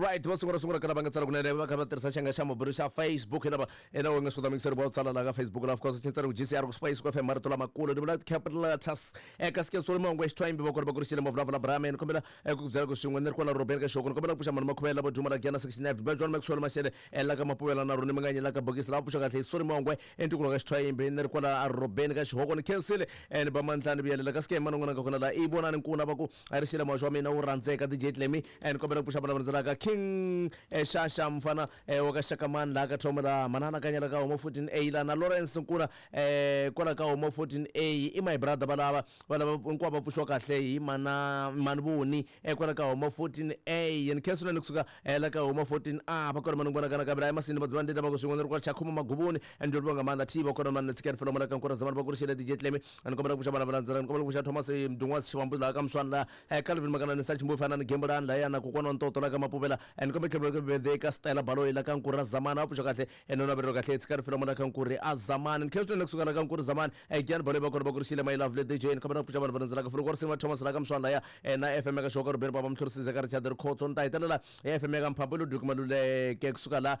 Right, va sungula sungula ka lava nga tsala kunene va kha va tirhisa xanga xa mabulu xa Facebook hi lava ena u nga swi kota mixer va tsala la ka Facebook la of course xitsari ku GCR ku Spice ku FM marito lamakulu ni vula capital letters eka sike sori mongwe xithwayimbi va kona va kurixile mavulavula Brahman kombela ku byela ku swin'we ni ri kwala Robert ka xoko ni kombela ku pfuxa mani makhuvela vo duma la Gyana section F ba John Maxwell Mashele la ka Mapuvela na Roni Manganye la ka bokisi la pfuxa kahle hi sori mongwe entikulu ka xithwayimbi ni ri kwala Robert ka xihoko ni khensile ni ba mandlani vuyelela ka sike mani n'wana ka kona la i vonani nkuna va ku a ri xile muhaxi wa mina wu rhandzeka DJ Clemmy ni kombela ku pfuxa vana va landzelaka King Xaxa mfana wa ka Xakamani laha ka Thomo la manana kanyela ka Homo 14A la na Lawrence Nkuna kwala ka Homo 14A i my brother valava valava hinkwavo va pfuxiwa kahle hi mana mani voni kwala ka Homo 14A ni khensa swinene kusuka la ka Homo 14A va kona mani vona kana kabela emasini va dzivani ndlela va ku swin'we ni ri kwala Chakhuma Maguvuni and ndzi nga maanḓa thi va kona mani tsikani felo mola ka nkura zamani va kurixile DJ Clemmy ni kombela ku pfuxa vana va landzela ni kombela ku pfuxa Thomas Mdungwazi Xivambu laha ka Mswani laha Calvin Makanani sa Chimbuyi fana ni Gembulani lahaya na kokwana wa Ntoto la ka Mapuvela ni kombela tlhelo ka birthday ka Stella Baloyi la ka Nkuri a Zamani a pfuxa kahle no navelelo kahle tsikani felo mola ka Nkuri a Zamani ni khensa swinene kusuka la ka Nkuri Zamani Gian Baloyi va kona va kurixile my lovely DJ ni kombela ku pfuxa vanhu va landzelaka Fuluko Risimu Thomas la ka Mswani lahaya na FM ka Xoka Ruben Baba Mtlhorisize ka Richard Rikhotso ni ta hetelela hi FM ya ka Mphambo Ludwig Maluleke kusuka la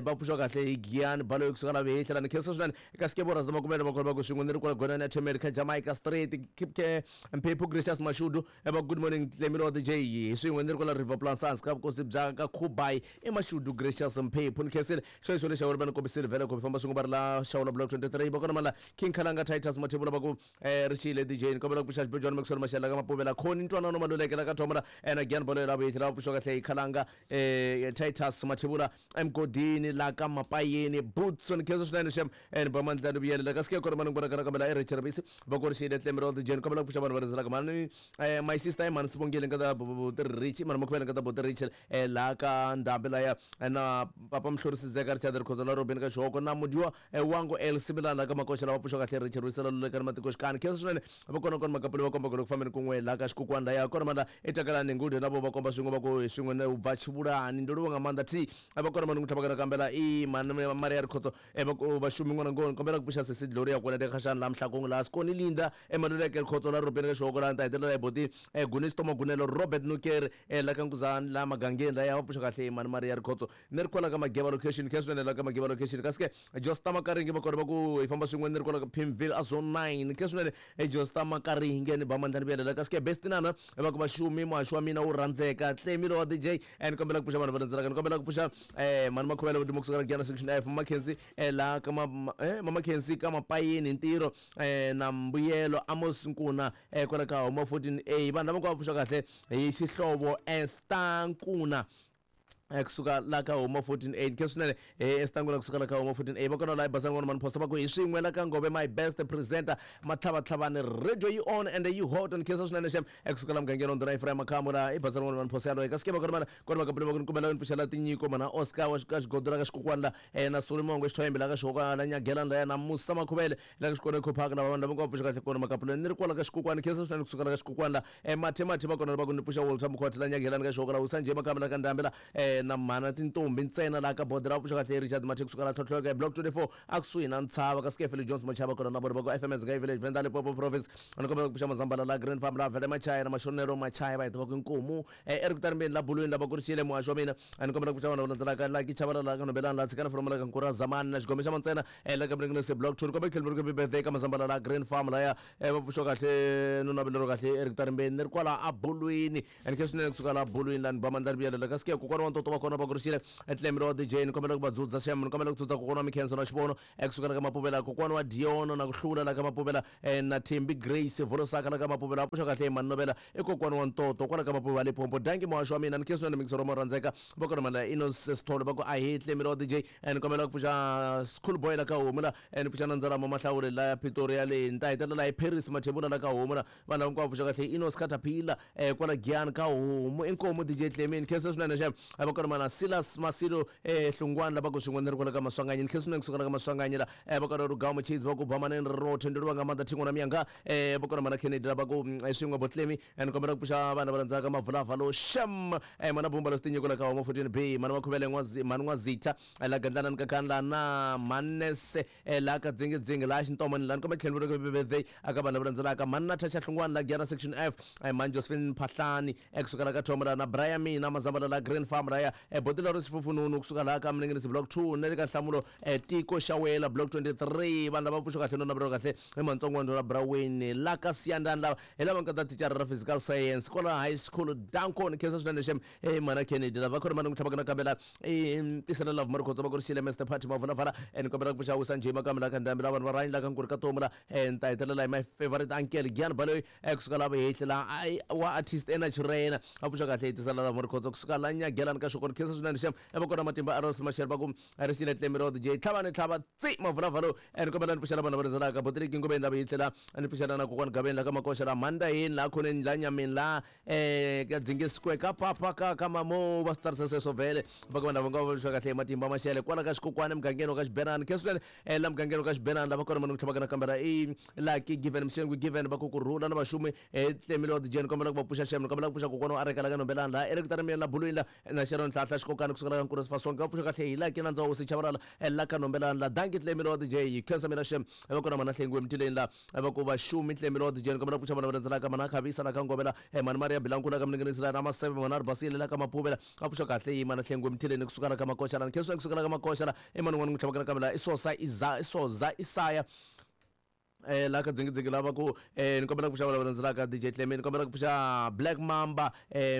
va pfuxiwa kahle hi Giyani Baloyi kusuka la Vehehla la ni khensa swinene eka Skeborus na Makumele va kona va ku swin'we ni ri kwala Gonani ya Themeli ka Jamaica Street Kipke Mphephu Gracious Mashudu va good morning Tlemilo DJ hi swin'we ni ri kwala River Plansans ka vukosi bya ka Khubai i Mashudu Gracious Mphephu ni khensile xo lexi va ni kombisile vhele ku famba swin'we va ri la Xawula Block 23 va kona mala King Khalanga Titus Mathebula va ku ri xile DJ ni kombela ku pfuxa Xibejwana Maxwell Mashela ka Mapuvela Khoni Ntwanano Maluleke la ka Thomora na Gian Baloyi la Vehehla va pfuxiwa kahle hi Khalanga Titus Mathebula emugodini la ka Mapayeni Boots ni khensa swinene xem ni ba mandla ni vuyelela ka sike kona mani ngona kana kambela e Richard Bisi va ku ri xile Tlemelo DJ ni kombela ku pfuxa vanhu va landzelaka mani my sister mani Sibongile nga ta buti Rich mani Makhuvela nga ta buti Rich la ka Ndhambi laya na papa Mhlorisi Zeka Richard Rikhotso la Robin ka Xihoko na Mudiwa Wango El Sibilana la ka Makoxa lava pfuxiwa kahle Richard Wisela Luleka ni matikoxikani khensa swinene va kona kona makapuli va komba ku ri ku fambeni kun'we la ka xikukwani laya kona manda etakalani ngude na vo va komba swin'we va ku hi swin'we na ubva xivulani ndo livha nga maanḓa thi va kona mani kutlhava kana kambela i mani Maria Rikhotso va ku vashumi n'wana ngoni kombela ku pfuxa sesi Gloria kona eka xana la Mhlakong la Sikoni Linda Emaluleke Rikhotso la Robeni ka Xihoko la ta hetelela hi boti Gunisto Magunelo Robert Nukeri la ka Nkuzani la Magangeni la ya va pfuxa kahle mani Maria Rikhotso ni ri kwala ka Mageva location khe swinene la ka Mageva location kasi ke Josta Makaringe va kona va ku hi famba swin'we ni ri kwala ka Pimville a zone 9 khe swinene Josta Makaringe ni ba mandla ni vuyelela kasi ke Bestinana va ku vaxumi muhaxi wa mina wu rhandzeka Tlemilo wa DJ ni kombela ku pfuxa vanhu va landzelaka ni kombela ku pfuxa mani Makhuvela vo duma kusuka la Giyani section F Mama Khensi la ka Mama Khensi ka Mapayeni ntirho na Mbuyelo Amos Nkuna kwala ka Homa 14A vanhu lava ku va pfuxa kahle hi xihlovo Esther Nkuna kusuka la ka Homa 14A khe swinene Esther Nkuna kusuka la ka Homa 14A va kona la basani n'wana mani phosa va ku hi swin'we la ka Ngove my best presenter matlhavatlhavani radio yi on and yi hot ni khensa swinene xem kusuka la mugangeni wa ndhuna Ephraim Makhamu la i basani n'wana mani phosa yaloye kasi ke va kona mana kona makapuli va ku ni kombela ni pfuxela tinyiko mana Oscar wa ka xigodo la ka xikokwani la na Solimongo xithwayimbi la ka xihoko la Nyagelani la ya na Musa Makhuvele la ka xikolo Eco Park lava vanhu lava nga pfuxa kahle kona makapuli ni ri kwala ka xikokwani khensa swinene kusuka la ka xikokwani la mathe mathe va kona va ku ni pfuxa Walter Mkhwatha la Nyagelani ka xihoko la Usanje Makamba la ka Ndhambi la na mhana tintombi ntsena la ka Bodra va pfuxa kahle Richard Mathe kusuka la Tlhotlhoka block 24 a kusuhi na Ntshava ka Skefile Jones Machava kona na vona va ku FMS Ngai Village Venda Limpopo Province ni kombela ku pfuxa Mazambala la Green Farm la Vele Machaya na Mashonero Machaya va heta va ku inkomu Eric Tarimbeni la Bulwini la va kurixile muhaxi wa mina ni kombela ku pfuxa vanhu va landzelaka la Kichavala la ka Nobelani la Tshikana Folomo la ka Nkura Zamani na Xigome xa Mantsena la ka Mringinese block 2 ni kombela ku tlhela mi birthday ka Mazambala la Green Farm laya va pfuxiwa kahle no navelero kahle Eric Tarimbeni ni ri kwala a Bulwini and khe swinene kusuka la Bulwini la ni ba mandla ni vuyelela kasi ke kokwana wa ntoto wa kona va kurixile Tlemilo wa DJ ni kombela ku va dzudza xem ni kombela ku dzudza kokwana wa Mikhenso na Xivono kusuka la ka Mapuvela kokwana wa Diono na ku hlula la ka Mapuvela na Thembi Grace Volosaka la ka Mapuvela va pfuxa kahle mani Novela i kokwana wa ntoto kwala ka Mapuvela Limpopo danki muhaxi wa mina ni khe swinene mixero mo rhandzeka va kona mani la Inos Sithole va ku a hi Tlemilo wa DJ ni kombela ku pfuxa School Boy la ka Homu la ni pfuxa na Ndzalama Mahlawuri la ya Pretoria le ni ta hetelela hi Paris Mathebula la ka Homu la vanhu lava hinkwavo pfuxa kahle Inos Caterpillar kwala Giyani ka Homu inkomu DJ Tlemini khensa swinene xem va kona. kona mana Silas Masilo Hlungwana lava ku swin'we ni ri kwala ka Maswanganyi. Ni khensa swinene kusuka la ka Maswanganyi la. Va kona Rugawu Muchidzi va ku bamaneni ri rothe ndi luvha nga maanḓa thingo na miyanga. Va kona mana Kennedy lava ku swin'we Botlemi. Ni kombela ku pfuxa vana va landzaka Mavulavalo Shem. Mana Bumba lo Sitinyiko la ka Homa 14B. Mana Makhuvele N'wazi Mhani N'wazitha la Gandlana ni Kakani na Manese la ka Dzingidzingi la Xintomani la ni kombela tlhelo ri birthday aka vanhu lava landzelaka Mhani Natasha Hlungwani la Giyana Section F. Mhani Josephine Phahlani kusuka la ka Thomo la na Brian Mina Mazambala la Green Farm raya Botilo ri Xifufununu kusuka la ka Mninginisi Block 2 na le ka Nhlamulo Tiko Xawela Block 23. Vanhu lava pfuxo kahle no navelo kahle i Mantsongwani la Braweni la ka Siyandani lava hi lava nga ta thicara ra physical science kwala high school. Danko ni khensa swinene xem mana Kennedy lava khona mani n'wi tlhavaka nakambe la tisela love Marikhotso va ku ri xile Mr Party Mavulavala. Ni kombela ku pfuxa wisa njhe makambe la ka ndhambi la vanhu va rhanyi la ka nkuri ka tomu la. Ni ta hetelela hi my favorite uncle Gian Baloyi kusuka la vuhehli la wa artist Energy a pfuxa kahle hi tisela love Marikhotso kusuka la Nyagelani ka Xokoni. Khensa swinene xem va kona matimba Aros Mashele va ku ri xile Tlemiro DJ tlhava ni tlhava tsi Mavulavalo. Ni kombela ni pfuxela vanhu lava rhendzelaka Botiriki Ngobeni la vuhehli la ni pfuxela na kokwani Gaveni la ka Makoxa la Mandaheni la khoneni la Nyameni la ka Dzingi Square ka papa ka ka mamo va swi tsarisa sweswo vhele va ka vanhu lava nga va kahle hi matimba Mashele kwala ka Xikokwani emugangeni wa ka Xibenani. Khensa swinene la mugangeni wa ka Xibenani lava kona mani ku tlhavaka nakambe i Lucky Given Mxengwi Given va ku kurhula na vaxumi Tlemilo DJ ni kombela ku va pfuxa xem ni kombela ku pfuxa kokwana wa Areka la ka Nombelani la Eric Tarimeni la Bulwini la na Sharon Hlahla Xikokani kusuka la ka Nkuru Sifasonke va pfuxa kahle hi Lucky na Ndzawusi Chavalala la ka Nombelani la Danki Tlemilo DJ khensa mina xem va kona mana Hlengiwe Mtileni la va ku vaxumi Tlemilo DJ ni kombela ku pfuxa vana va landzelaka mana Khavisa la ka Ngovela mani Maria Bilankulu la ka Mninginisi la na Maseve mana Ribasile la ka Mapuvela va pfuxa kahle hi mana Hlengiwe Mtileni kusuka la ka Makoxa la khensa kusuka la ka Makoxa la i mani n'wana n'wi tlhavaka nakambe la i Sosa Iza i Soza Isaya la ka Dzingidzingi lava ku ni kombela ku pfuxa lava landzelaka DJ Cleme ni kombela ku pfuxa Black Mamba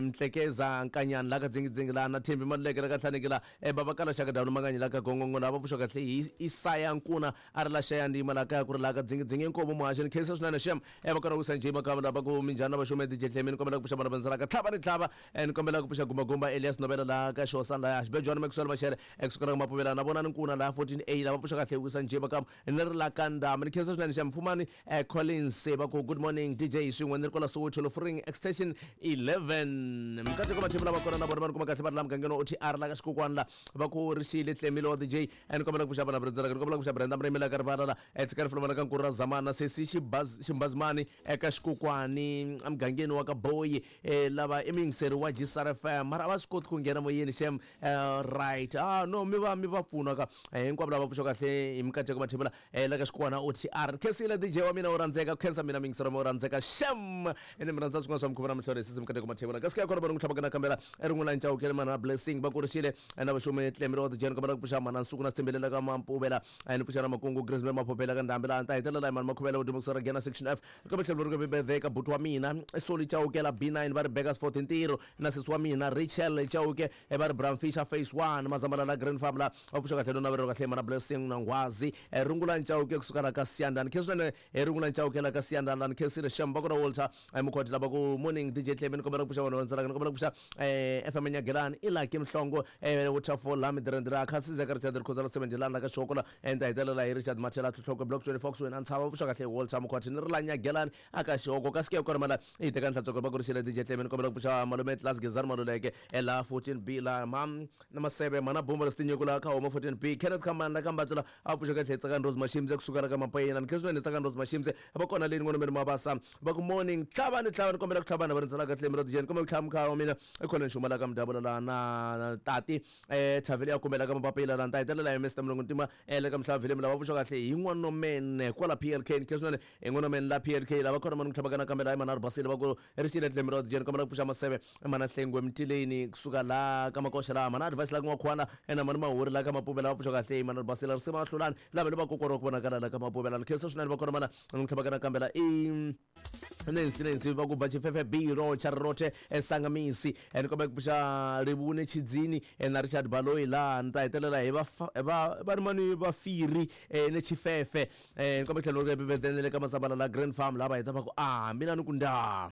Mtlekeza Nkanyani la ka Dzingidzingi la na Thembi Maluleke la ka Hlaneki la Baba Kala Xaka Dawuni Manganyi la ka Gongongo la va pfuxa kahle hi Isaya Nkuna a ri la Xaya Ndima la kaya ku ri la ka Dzingidzingi inkomu muhaxi ni khensa swinene xem va kona ku Sanjay Makamba lava ku minjhani na vaxume DJ Cleme ni kombela ku pfuxa vana landzelaka tlhava ni tlhava ni kombela ku pfuxa Gumbagumba Elias Nobela la ka Xosana la Xibejwana Maxwell Mashele kusuka la ka Mapuvela na vona ni Nkuna la 14A lava pfuxa kahle ku Sanjay Makamba ni ri la ka Ndama ni khensa swinene xa Mfumani Collins va ku good morning DJ swin'we ni ri kwala Soweto Lofring extension 11 mikateko mathembu lava kona na vona va ni kuma kahle va ri la mugangeni wa OTR la ka Xikokwani la va ku ri xile Tlemile wa DJ ni kombela ku pfuxa vana va ni kombela ku pfuxa Brenda Mrimi la ka rivala la tshikani fulomana ka Nkuru ra Zamana sesi Ximbazimani eka Xikokwani emugangeni wa ka Boyi lava i muyingiseri wa GCR FM mara a va swi koti ku nghena moyeni xem right no mi va mi va pfuna ka hinkwavo lava pfuxa kahle hi mikateko mathebula la ka Xikwana OTR khensile DJ wa mina wo rhandzeka khensa mina muyingiseri wa mina wo rhandzeka xem ene mi rhandza swin'wana swa mikhuva na mihlolo hi sisi mikateko mathebula kasi ka kona va ni ku tlhavaka nakambela rin'wana Chauke mana Blessing va kurixile na vaxumi Tlemile wa DJ ni kombela ku pfuxa mana Nsuku na Sithembele la ka Mampuvela ni pfuxa na Makungu Grace Maphophela ka Ndhambi la ta hetelela hi mani Makhuvela wo dyuma kusera Gena Section F kambe tlhelo ri birthday ka buti wa mina Soli Chauke la B9 va ri Bakersford ntirho na sesi wa mina Rachel Chauke va ri Bram Fisher Phase 1 Mazambala la Green Farm la va pfuxa kahle no navelo kahle mana Blessing na Nghwazi Rungula Chauke kusuka la ka Siyandani khensa swinene Rungula Chauke la ka Siyandani la ni khensile xem va kona Walter Mukhoti lava ku morning DJ Cleme ni kombela ku pfuxa vanhu va landzelaka ni kombela ku pfuxa FM Nyagelani i Lucky Mhlongo Waterfall la Midirendira Khasiza ka Richard Rikhoza la 7 la ka Xoko la ni ta hetelela hi Richard Mathela Tlhotlhoko Block 24 kusuhi na Ntshava va pfuxa kahle Walter Mukhoti ni ri la Nyagelani aka Xoko kasi ke kona mala i teka nhlantsweko va ku ri xile DJ Cleme ni kombela ku pfuxa malume Class Gezani Maluleke la 14B la mam na Maseve mana Bumba la Sitinyeko la ka Homa 14B Kenneth Khamani la ka Mbatla a pfuxa kahle Tsakani Rose Mashimse kusuka la ka Mapayena ni khensa swinene Tsakani Rose Mashimse va kona le n'wana meri Mabasa va ku morning tlhava ni tlhava ni kombela ku tlhavana va rindzelaka Cleme ra DJ ni kombela ku tlhava mukhaya wa mina i khona ni xuma la ka Mudabula la na tati Thavele ya kumela ka Mapapila la ni ta hetelela hi Mr Mulungu Ntima le ka Mhlava Vhilemi lava pfuxa kahle hi N'wanomene kwala PLK ni khensa swinene hi N'wanomene la PLK lava kona mani ku tlhavaka nakambe la hi Manharhu Basile va ku ri xile Cleme ra DJ ni kombela ku pfuxa Maseve mana Hlengwe Mtileni kusuka la ka Makoxa la mana Advice la ka N'wakhwana na mani Mahuri la ka Mapuvela va pfuxa kahle hi Manharhu Basile risima hlulani lava le va kokwana wa ku vonakala la ka Mapuvela ni khensa swinene va kona mana ni ku tlhavaka nakambe la i Nancy Nancy va ku bva Tshifefe B Rocha Rothe Sangamisi ni kombela ku pfuxa Rivune Tshidzini na Richard Baloyi la ni ta hetelela hi va va va ri mani va Firi ni Tshifefe ni kombela tlhelo ri le ka Masambala la Grand Farm la va heta va ku a mina ni ku ndaa.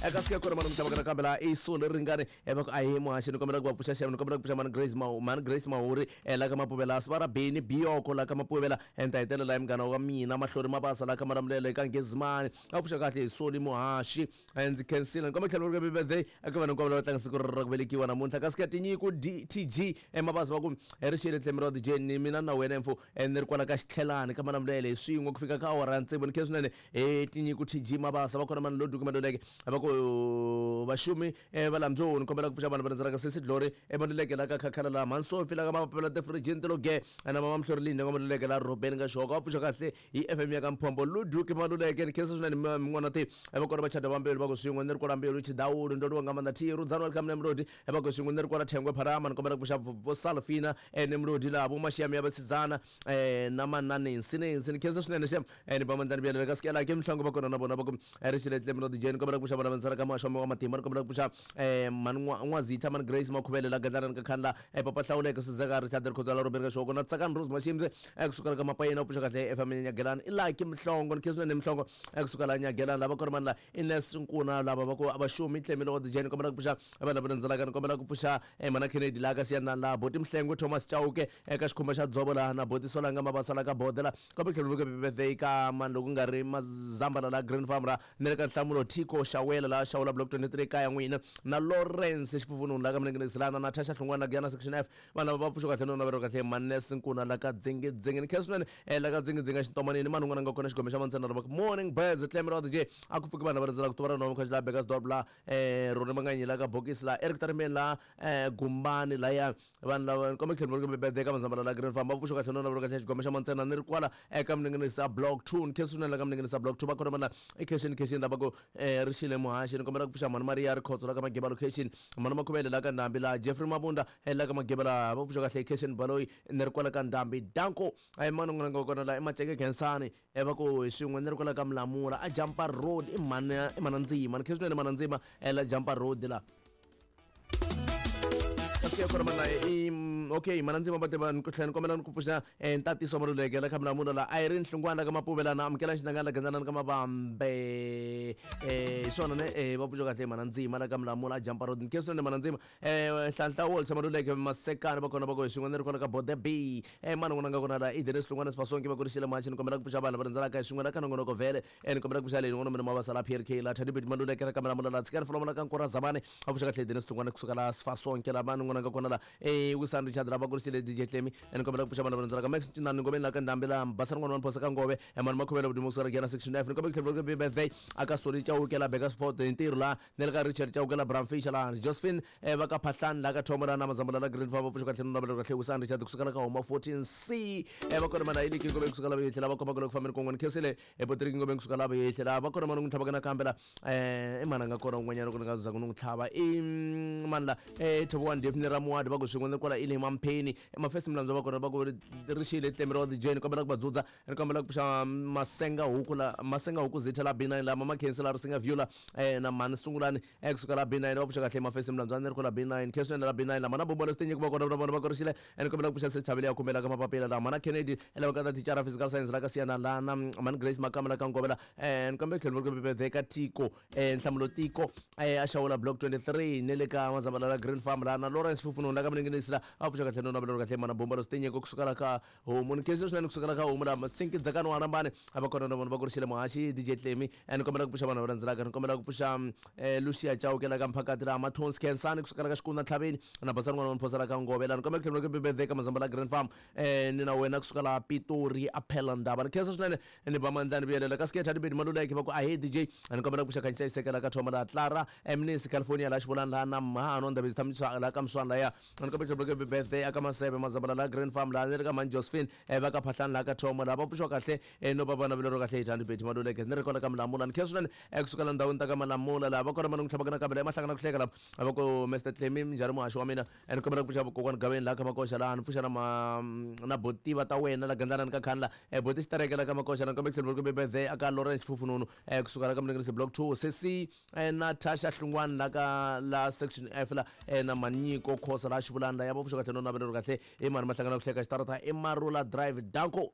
Eka sike kona mani mutshama kana kambe laha i solo ringani va ku ahi muhaxi ni kombela ku va pfuxa xava ni kombela ku pfuxa mani Grace mani Grace Mahuri la ka Mapuvela Sivara Beni Biyoko la ka Mapuvela ni ta hetelela hi munghana wa mina Mahlori Mabasa la ka Malamulele eka Ngezimani a pfuxa kahle hi Soli Muhaxi. Ndzi khensile ni kombela tlhela ku ri birthday eka vanhu hinkwavo lava tlanga siku ra ku velekiwa namuntlha kasi ka tinyiko DTG Mabasa va ku ri xile tlhemi ra DJ ni mina na wena mfo ni ri kwala ka xitlhelani ka Malamulele hi swin'we ku fika ka awara ya tsevu ni khensa swinene hi tinyiko TG Mabasa va kona mani Loduki Maluleke va ku vaxumi va la Mdlou ni kombela ku pfuxa vanhu va rhandzaka sesi Glory Maluleke la ka Khakhala la Mhansofi la ka Mapapela Tifirijini ti lo ge na mama Mhlori Linda nga Maluleke la Robeni ka Xoka va pfuxa kahle hi FM ya ka Mphombo Loduki Maluleke ni khensa swinene min'wana ti va kona va chada va mbilu va ku swin'we ni ri kwala mbilu Chidawulu ndoliwa nga maanḓa T Rudzani welcome Nemrodi va ku swin'we ni ri kwala Thengwe Pharama ni kombela ku pfuxa vo Salfina Nemrodi laha vo Mashiami ya vasidzana na Mananensi Nensi ni khensa swinene xem ni ba mandlani vuyelele ka sikela ke mihlango va kona na vona va ku ri xile tlemi ra DJ ni kombela ku pfuxa vona vandzela ka muhaxo wa wa matimba ni kombela ku pfuxa mani N'wazitha mani Grace Makhuvele la Gadlana ka Khandla Papa Hlawuleke Sizeka Richard Rikhodzela Robert Kashoko na Tsakani Rose Mashimze kusuka ka Mapayena u pfuxa kahle FM Nyagelani i Lucky Mhlongo ni khensa swinene Mhlongo kusuka la Nyagelani lava kona mani la Ines Nkuna lava va ku vaxumi tlemi wa DJ ni kombela ku pfuxa vanhu lava rhendzelaka ni kombela ku pfuxa mana Kennedy la ka Siyanani la Boti Mhlengwe Thomas Chauke eka xikhumba xa dzovo laha na Boti Solanga Mabasa la ka Bode la kombela ku tlhela birthday ka mani loko nga ri Mazambala la Green Farm la ni le ka Nhlamulo Thiko Xawela la Xawula Block 23 kaya n'wina na Lawrence Xifufununu la ka Mninginisi la na Natasha Hlungwana la Giyana Section F vanhu lava va pfuxa kahle no naveriwa kahle Manes Nkuna la ka Dzingidzingi ni khensa swinene la ka Dzingidzingi exintomanini mani un'wana a nga kona xigome xa mantsena ri va ku morning birds Tlemi ra DJ a ku pfuki vanhu lava rindzelaka tuva ra nhova mukhaxi la Bekkersdorp la Roni Manganyi la ka Bokisi la Eric Tarimeni la Gumbani laya vanhu lava ni kombe tlhelo ri birthday ka Mazambala la Green Farm va pfuxa kahle no naveriwa kahle xigome xa mantsena ni ri kwala eka Mninginisa Block 2 ni khensa swinene la ka Mninginisa Block 2 va kona vanhu la i khexini khexini lava ku ri xile muhaxi ni kombela ku pfuxa mhani Maria Rikhotso la ka Mageba location mhani Makhuvele la ka Ndhambi la Jeffrey Mabunda la ka Mageba la va pfuxa kahle khexini Baloyi ni ri kwala ka Ndhambi danko a hi mani un'wana nga kona la i Maceke Khensani va ku hi swin'we ni ri kwala ka Mulamula a Jampa Road i mhani i mhana Ndzima ni khensa swinene mhana Ndzima la Jampa Road la kasi kona mana i okay mana ndzima va tiva ni ku tlhela ni kombela ni ku pfuxa ntatiso wa Maluleke la kha Mulamula la Irene Hlungwana la ka Mapuvela na amukela xinangana la Genzanani ka Mavambe hi swona ne va pfuxa kahle mana ndzima la ka Mulamula a Jampa Road ni khensa swinene mana ndzima Nhlanhla Walter Maluleke Masekani va kona va ku hi swin'we ni ri kona ka Bode B mani n'wana nga kona la i Dennis Hlungwana Sifasonke va ku ri xile machi ni kombela ku pfuxa vanhu va rindzelaka hi swin'we la ka nongonoko vhele ni kombela ku pfuxa leyi n'wana mina Mabasa la PRK la Thadibet Maluleke ra ka Mulamula la Tshikani Folomo la ka Nkora Zamani a pfuxa kahle Dennis Hlungwana kusuka la Sifasonke la mani n'wana nga kona la Wisani Richard la va ku ri xile DJ Tlemi ni kombela ku pfuxa vanhu va rindzelaka Max Ncinani Ngomeni la ka Ndhambi la Basani n'wana wa Mphosa ka Ngove mani Makhuvela Vudumo kusuka la Giyana Section F ni kombela ku tlhela ku birthday aka Soli Chauke la Bekkersford hi ntirho la ni le ka Richard Chauke la Bram Fischer la Josephine va ka Phahlani la ka Thomo la na Mazambula la Green Farm va pfuxa kahle no navela kahle Wisani Richard kusuka la ka Homa 14C va kona mana Iliki Ngomeni kusuka la Vehehla va komba ku le ku fambeni kun'we ni khensile Patrick Ngomeni kusuka la Vehehla va kona mani n'wi tlhavaka nakambe la i mani a nga kona un'wanyana ku ni nga za ku ni n'wi tlhava i mani la Thobo wa Daphne Ramuwadi va ku swin'we ni kwala Ili Mampheni Mafesi Mlambo va kona va ku ri xile tlemi ra DJ ni kombela ku va dzudza ni kombela ku pfuxa Masenga huku la Masenga huku zitha la B9 la Mama Khensi la Risinga View la na Mhani Sungulani kusuka la B9 va pfuxa kahle Mafesi Mlambo ni ri kwala B9 Khensi la B9 la Mhana Bobola Sitinyiko va kona na vona va korixile ni kombela ku pfuxa Setshavile ya kumela ka mapapila la Mhana Kennedy lava ka ta thicara physical science la ka Siyana la na Mhani Grace Makama la ka Ngovela ni kombela ku tlhela ku birthday ka Tiko Nhlamulo Tiko a Xawula Block 23 ni le ka Mazambala la Green Farm la na Lawrence Fufununu la ka Mninginisi la a pfuxa kahle no navela kahle Mhana Bombalo Sitinyiko kusuka la ka homu ni khensa swinene kusuka la ka homu la Masinki Dzakani wa Rambani a va kona na vona va kurixile muhaxi DJ Tlemi ni kombela ku pfuxa vanhu va landzelaka ni kombela ku pfuxa Lucia Chauke la ka Mphakati la Mathonsi Khensani kusuka la ka Xikuna Tlhaveni na Basani n'wana wa Mphosa la ka Ngove la ni kombela ku tlhela ku birthday ka Mazambala Green Farm ni na wena kusuka la Pitori a Phela Ndaba ni khensa swinene ni ba mandla ni vuyelela ka Sketch Adibedi Maluleke va ku ahe DJ ni kombela ku pfuxa Khanyisa Isekela ka Thoma la Clara Mnisi California la Xivolani la na Mhano Ndabezi Thamisa la ka Mswana la ya ni kombela ku tlhela ku birthday aka Maseve Mazambala la Green Farm la ni ri ka Mhani Josephine va ka Phahlani la ka Thoma la va pfuxiwa kahle no va vana vilero kahle hi Thandi Maluleke ni ri kona ka Mulamula ni khensa swinene kusuka la ndhawini ta ka Malamula la va kona mani n'wi tlhavaka nakambe la emahlangana ku hleka la va ku Mr Tlemi minjhani muhaxi wa mina ni kombela ku pfuxa kokwani Gaveni la ka Makoxa laha ni pfuxa na ma na botiva ta wena la Gandlana ni ka Khani la boti Xitereke la ka Makoxa la ni kombela ku tlhela ku birthday aka Lawrence Fufununu kusuka la ka Mninginisi Block 2 sesi Natasha Hlungwani la ka la Section F la na Manyiko Khosa la Xivulani la ya va pfuxa kahle no navelero kahle i mani mahlangana ku hleka xitarata i Marula Drive danko.